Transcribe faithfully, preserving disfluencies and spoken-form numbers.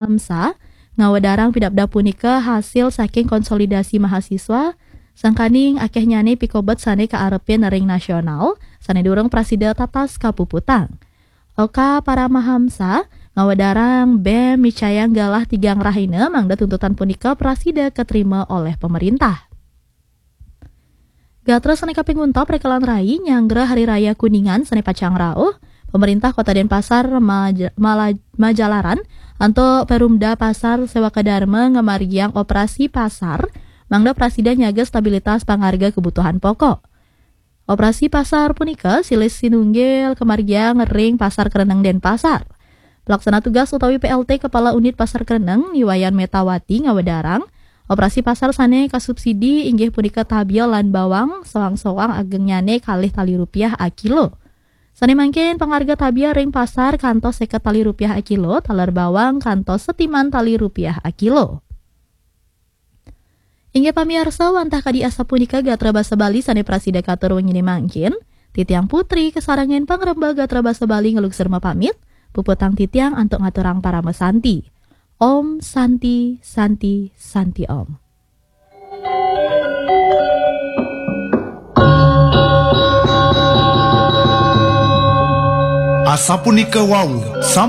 Hamsa, ngawedarang pidabdab punika hasil saking konsolidasi mahasiswa, sangkaning akehnyane pikobet sane kaarepin ring nasional, sane durung prasida tatas kapuputang. Oka Paramahamsa, ngawedarang bem micayang galah tigang rahina mangda tuntutan punika prasida katrima oleh pemerintah. Gatra sane kaping untat, rekelan rai nyanggra Hari Raya Kuningan sane pacang rauh. Pemerintah Kota Denpasar maja-, mala-, majalaran antuk Perumda Pasar Sewaka Dharma ngamargiang operasi pasar mangda prasida nyaga stabilitas pangarga kebutuhan pokok. Operasi pasar punika silih sinunggil kamargiang ring Pasar Kereneng Denpasar. Pelaksana tugas utawi P L T Kepala Unit Pasar Kereneng, Ni Wayan Metawati, ngawedarang, operasi pasar sane kasubsidi inggih punika tabia lan bawang, soang-soang agengnyane kalih tali rupiah akilo. Sane mangkin pangarga tabia ring pasar kantos seket tali rupiah akilo, taler bawang kantos setiman tali rupiah akilo. Inggih pamiarsa, wantah kadi asapunika gatra basa Bali sane prasida katur wengine mangkin, titiang Putri kasarengin pangremba gatra basa Bali ngelugsur mapamit, puputang titiang antuk ngaturang parama santi. Om Santi, Santi, Santi Om. Asapunika wau, sam-